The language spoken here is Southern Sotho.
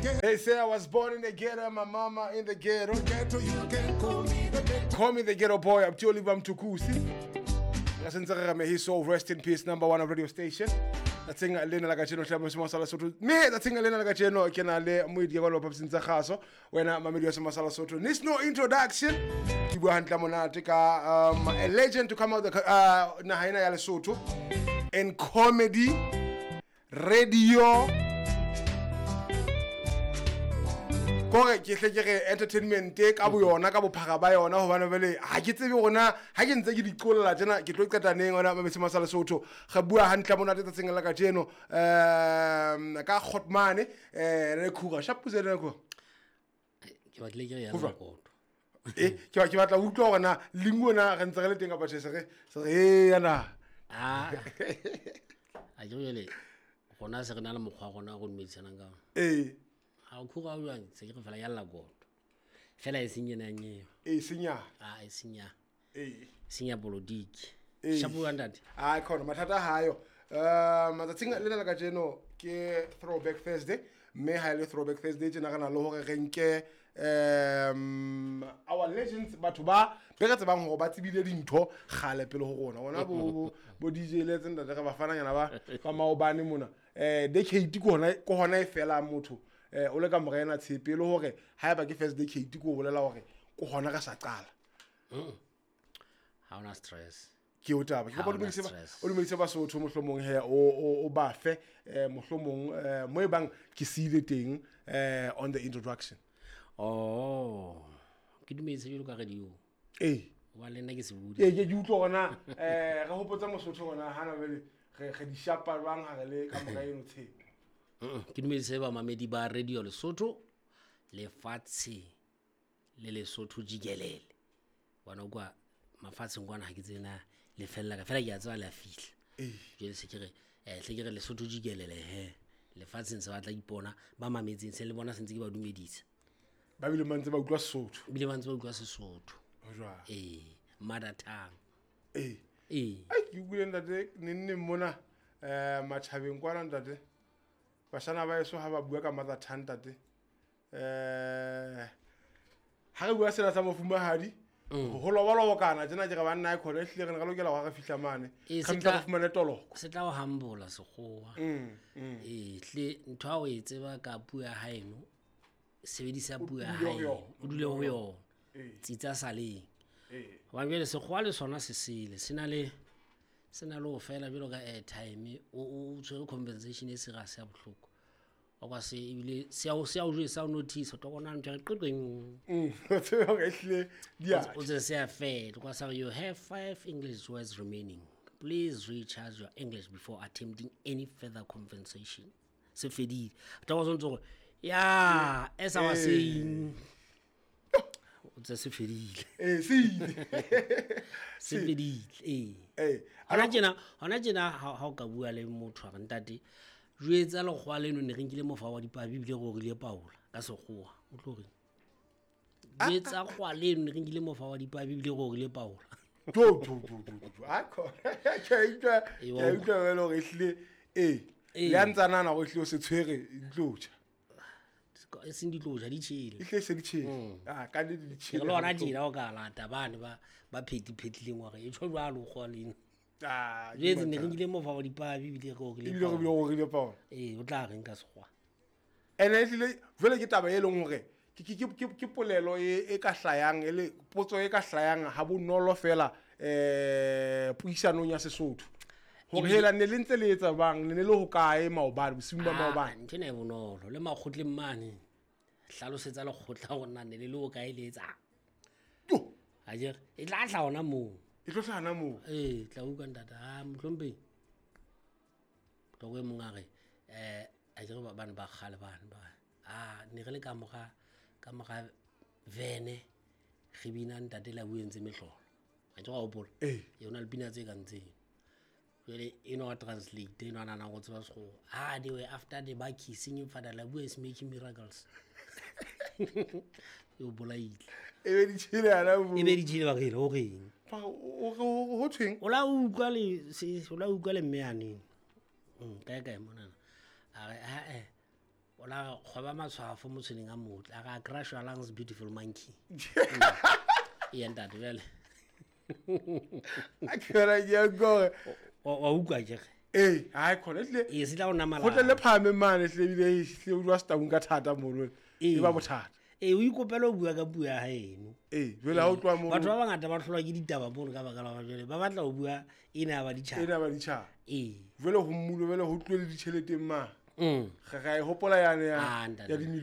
ghetto. They say I was born in the ghetto, my mama in the ghetto. Ghetto, you can call me the ghetto. Call me the ghetto boy, Abdi Oliver Mtukudzi. Ka sentse re re may his soul rest in peace, number one of radio station. Tsatsing lena la kajeno hle Mosima sa Lesotho. Mme tsatsing lena la kajeno ke na le moedi ya kwalo papsing tsa kgaso. Wena mamedi wa Sema sa Lesotho. Needs no introduction. Ke bua hantle monate ka a legend to come out the naha ena ya Lesotho in comedy, radio, kore ke hle ke re entertainment ka bo yona ka bophara ba yona hobane jwale ha ke tsebe hore na ha ke ntse ke di qolla tjena ke tlo qeta neng hona Mamedi Sa Lesotho. Re bua hantle monate tsatsing la kajeno ka Kgotmane re khura shapuze le khura. Ke batlile ke re ya Ho jwang? Makoto. Ke batla ho utlwa hore na lingo na re ntse re le teng kapa tjhe, se re e yana. Ah. A ke jwale rona se re na le mokgwa wa rona o re dumedisanang ka ona. Ee. Ha o khura o jwang, se ke re fela ya lla koto. Fela e seng ena nyeo. E seng ya. Ah, e seng ya. Ee. Seng ya politiki. Ee. Shapo wa ntate. Ah, khona mathata ha yo. Matsatsing lena la kajeno ke Throwback Thursday, mme ha e le Throwback Thursday tjena re na le hore re nke our legends, batho ba be re tsebang hore ba tsebile dintho kgale pele ho rona. Ona bo DJ le tse ntate re ba fananyana ba maobane mona. Decade ke hona e fela motho. O le ka mora ena tshepe le hore haeba ke first decade ke o bolela hore ke hona re sa qala. Ha ona stress. Ke o taba. Ke Ha kopa ona stress. o dumedise Basotho mohlomong he, o ba fe, mohlomong, mo e bang ke siile teng, on the introduction. Oh, ke dumedise jwalo ka radio. Ee. Hoba le nna ke sebodi. Ee, ke utlwa hore na, re hopotsa Mosotho hore na hana jwale re di shapa jwang ha re le ka mora eno tshepe. Ke dumedise bamamedi ba Radio Lesotho, lefatshe le Lesotho jikelele. Bona kwa mafatsheng kwana ha ke tsebe na le fella ka, fela ke a tseba le a fihla. Ee. Jwale se ke re, hle ke re Lesotho jikelele he. Lefatsheng se batla ipona, ba mametseng se le bona se ntse ke ba dumedisa. Ba bile ba ntse ba utlwa Sesotho. Ebile ba ntse ba utlwa Sesotho. Ho jwang? Ee, mother tongue. Ee. Ee. Ai, ke utlwile ntate neng mona, matjhabeng kwana ntate. Bashana ba eso ha ba bua ka mother tongue ntate. Ha re bua sena sa mofumahadi, ho lobalobokana tjena ke re banna e khona, ehlile re ne re lokela hore re fihla mane. Ee, Re mpa re fumane toloko. Se tla o humble sekgowa. Ee, hle ntho ha o e tseba ka puo ya haeno, sebedisa puo ya dule ho haeno, yona. o dule ho yona. Ee. Tsitsa saleng. Ee. Hobane jwale sekgowa le sona se sele, se na le ho fela jwalo ka airtime, o tshwere compensation e serious ya bohloko. Wa kwa se ebile se a o jwetsa, o notice, o tlo bona ntho e re qeqeng. O tsebe hore ehlile di a O tse se a fela. O kwa sa re, you have 5 English words remaining. Please recharge your English before attempting any further compensation. Se fedile. O tla kwa se ntse gore, ya, as I was Ee. saying, o tse se fedile. Ee, se ile. Se fedile, ee. Ee. Hona tjena ha o ka bua le motho a re ntate, jwetsa lekgowa leno ne re nkile mofa wa dipabi ebile re orile paola ka sekgowa. O tlo reng? Jwetsa kgowa leno ne re nkile mofa wa dipabi ebile re orile paola. Jo, jo, jo, jo, jo, jo. Ha khona. Ke a utlwa, Ee, ke wa a utlwa. utlwa jwale hore ehlile, ee, Ee. le a ntsa nahana hore ehlile o se tshwere ditlo tjha. E seng ditlo tjha, di tjhele. Ehlile se di tjhele. Ah, ka nnete di tjhele. Ke le hona tjena o ka lata bane ba phetiphetileng hore e tjho jwalo kgowa leno. Ah, ke Jwetse ne re mathata. nkile mofa wa dipabi ebile re orile Ebile re paola. bile re orile paola. Ee, o tla reng ka sekgowa? Ene ehlile jwale ke taba e leng hore ke polelo e ka hlayang, e le potso e ka hlayang ha bonolo fela, puisanong ya Sesotho. Hore Ebile hela ne le ntse le etsa jwang, ne le le hokae maobane, bosiung ba Ah, maobane? ntho ena e bonolo. Le makgotleng mane, hlalosetsa lekgotla hore na ne le le hokae le etsang. Jo! Akere, e tla hlaha hona moo. E tlo hlaha hona moo. Ee, tla utlwa ntate. Ah, mohlomphehi. Toko e mong a re, akere bane ba kgale bane ba, ah, ne re le ka mora vene, re bina ntate la buentse mehlolo. Ha ke wa hopola? Ee. Yona le pina tse kang tseno. Jwale eno wa translate, eno a nahanang ho tseba sekgowa. Ah, they were after the bakkie singing Father Labu is making miracles. E o bolaile. E be di tjhele hana moo. E be di tjhele ba re, ho reng? Ba re, ho thweng? O la utlwa le se, o la utlwa le mme yaneng. Kae kae monana. A re, ha, eh. O la kgoba matshwafo motshweneng a motle, a re a crush your lungs, beautiful monkey. Ee ntate, jale A ke ra ke gore wa utlwa kere? Ee, hai khona ehlile. Ee, se tla o Go tle le namala. phahame mane ehlile, ebile ehlile o dula setaung ka thata mono, e ba bothata. Ee, o ikopela o bua ka puo ya gaeno. Ee, jwale ha o tloha mono Batho ba bangata ba tlholwa ke ditaba mono ka baka la hore jwale ba batla ho bua ena ya baditjhaba. Ena ba ditjhaba. Ee. Jwale ho mmulo, jwale ho tluwe le ditjheleteng mane. Re ra e hopola yane ya Ah, ntate. ya dimilione.